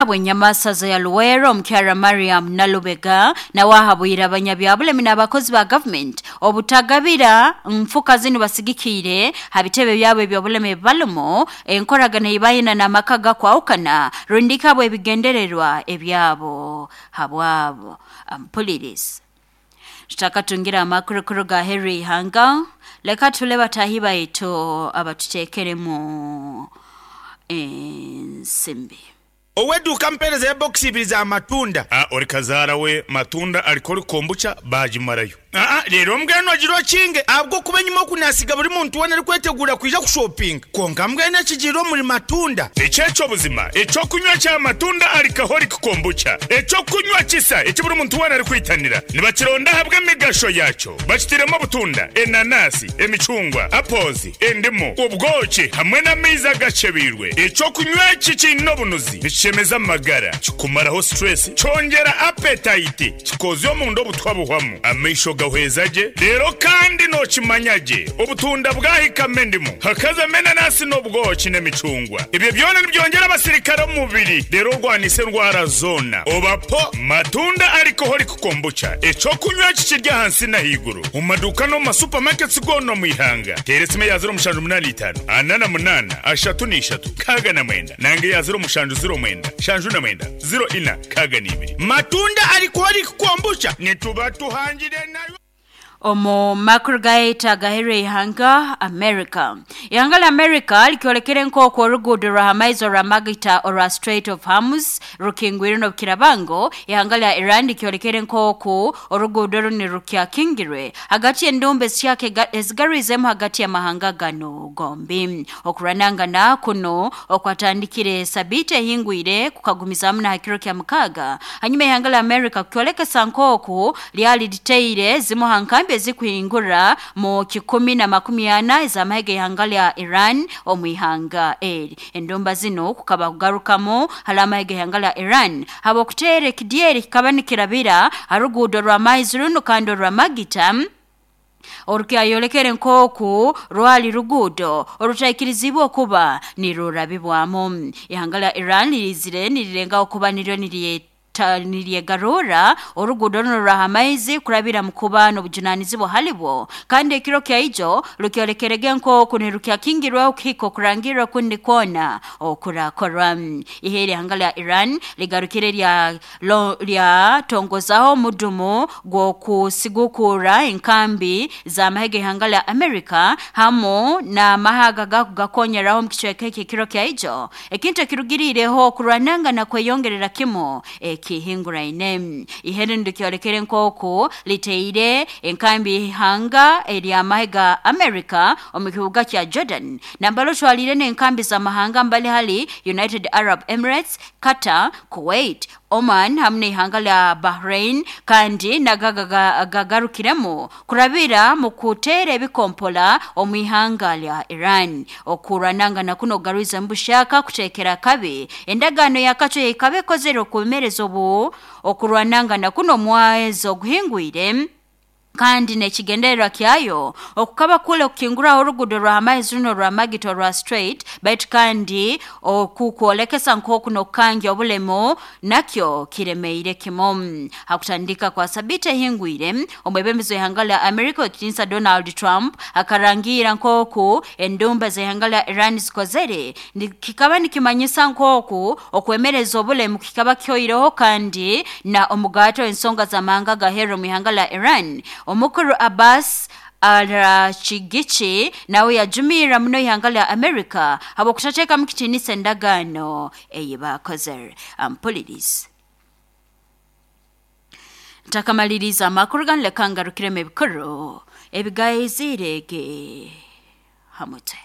Bwenyamasaza ya Luwero, omukyara Mariam Nalubega, nawe ahabwire abanyabyabulemi n'abakozi ba gavumenti obutagabira nfuka zinu basigikiire ha bitebe byabo ebyobulemi balumu enkoragana eibayina n'amaka gakwahukana rundika bwe ebigendererwa ebyabo habwabo. Ampuliriza, tutakatungira amakurukuru ga Henry Ihanga, leka tule batahi baitu abatuteekeremu ensimbi. Ow'eduuka mpeereza ebokisi ibiri za matunda. A Ori kazaara we matunda arikori kombucha baagimarayo. Aa Reero mbwenu ogira okinge ahabw'okuba enyima oku naasiga buri muntu weena arikweteguura kwija kushopinga. Kwonka mbwenu ekigiire omuri matunda. Eki eky'obuzima, eky'okunywa kya matunda alcoholic kombucha, eky'okunywa kisa eki buri muntu weena arikwitanira. Nibakironda ahabw'emigasho yaakyo. Bakitairemu obutunda, enanasi, emicungwa, apples, endimu, obwoki hamwe n'amaizi agakyebeirwe. Eky'okunywa eki kiine obunuzi, nikishemeza amagara, kikumaraho stress, kyongyera appetite, kikoozya omunda obutwa buhwamu, amaisho gahweza gye, reero kandi nookimanya gye obutunda bwahikamu endimu, hakazamu enanasi n'obwoki n'emicungwa. Ebyo byona nibyongyera abasirikare omu mubiri reero orwanise endwara zoona. Oba po Matunda Alcoholic Kombucha, eky'okunywa eki kiri ahansi n'ahaiguru omu maduuka n'omu ma supermarkets goona omu ihanga. Teera esimu eya 0785 48 33 69 nanga eya 0709 79 04 62. Matunda Alcoholic Kombucha nituba tuhangire nayo. Omu makuru gaitu agaherire ihanga America. Ihanga lya America likyolekere nk'oku oruguudo rwa hamaizi orwa Magita orwa Strait of Hormuz rukingwire n'obukirabango. Ihanga lya Iran likyolekere nk'oku oruguudo runu rukyakingirwe hagati y'endumba ezikyaka ezigarwizemu hagati y'amahanga ganu gombi. Okuranangana kuno okwatandikire sabiiti ehingwire kukagumizaamu na ha kiro kya mukaaga hanyuma ihanga lya America kukyolekesa nk'oku lyali liteire zimu ha nkambi ezikuhingura mu 140 ez'amahe g'ihanga lya Iran omu ihanga eri. Endumba zinu kukaba kugarukamu hali amahe g'ihanga lya Iran habw'okuteera ekidyeri kikaba nikirabira ha ruguudo rw'amaizi runu kandi orw'amagita orukyayolekere nk'oku rwali ruguudo orutaikirizibwe okuba nirurabibwamu. Ihanga lya Iran lirizire nirirengaho kuba niryo niryegarurra oruguudo runo rwa hamaizi kurabira mu kuba n'obujunanizibwa halibwo, kandi ekiro kyaijo rukyolekerege nk'oku nirukyakingirweho kuhika okurangirra okundi kwona okurakorwa. Ihe ihanga lya Iran ligarukire lyatongozaho omudumu gw'okusigukura enkambi z'amahe g'ihanga lya America hamu n'amahe agagakukonyeraho omu kicweka eki ekiro kyaijo, ekintu ekirugiriireho okurwanangana kweyongerera kimu ekihinguraine. Ihe rinu likyolekere nk'oku liteire enkambi y'ihanga ery'amahe ga America omu kibuga kya Jordan, nambere otwaliire n'enkambi z'amahanga mbali hali United Arab Emirates, Qatar, Kuwait, Oman hamu n'ihanga lya Bahrain, kandi nago gagarukiremu kurabira mu kuteera ebikompola omu ihanga lya Iran. Okuranangana kuno kugarwizemu bushaka kuteekera akabi endagaano y'akacwe eikaba ekozere okwemereza obu okurwanangana kuno omwezi oguhingwire, kandi n'ekigendererwa kyayo okukaba kule okukinguraho oruguudo rwa hamaizi runo rwa Magita orwa Strait, baitu kandi okukwolekesa nk'oku n'okukangya obulemu nakyo kiremeire kimu. Hakutandika kwa sabiiti ehingwire, omwebembezi w'ihanga lya America ow'ekitiinisa Donald Trump akarangira nk'oku endumba z'ihanga lya Iran zikozere kikaba nikimanyisa nk'oku okwemereza obulemu kikaba kihoireho, kandi na omugato w'ensonga z'amahanga agaheru omu ihanga lya Iran, omukuru Abbas Arachigichi, nawe yajumirra muno ihanga lya America habw'okutateekamu kitiinisa endagaano ei baakozere. Ampulirize, ntakamaliriza amakuru ganu, leka ngarukiremu ebikuru ebigaiziire ge ha mutwe.